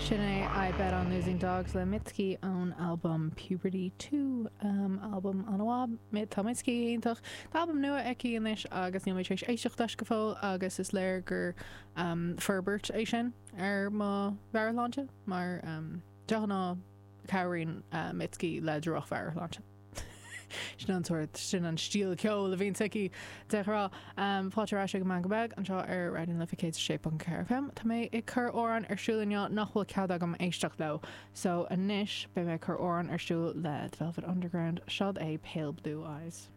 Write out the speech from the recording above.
Sin é I Bet on Losing Dogs le Mitski ón albam Puberty 2, albam an-mhaith. Tá Mitski iontach. Tá albam nua aici anois agus níl mé tar éis éisteacht leis go fóill agus is léir gur forbairt é sin ar mo mheabhairshláinte mar de ghnáth cabhraíonn Mitski le droch-mheabhairshláinte. Sin an sórt, sin an stíl ceoil a bhíonns aici de ghnáth. Fáilte ar ais ag an Meangadh Beag anseo ar Raidió na Life 106.4 FM. Tá mé ag cur amhrán ar siúl inniu nach bhfuil cead agam éisteacht leo. So anois beidh mé ag cur amhrán ar siúl le The Velvet Underground. Seod é Pale Blue Eyes.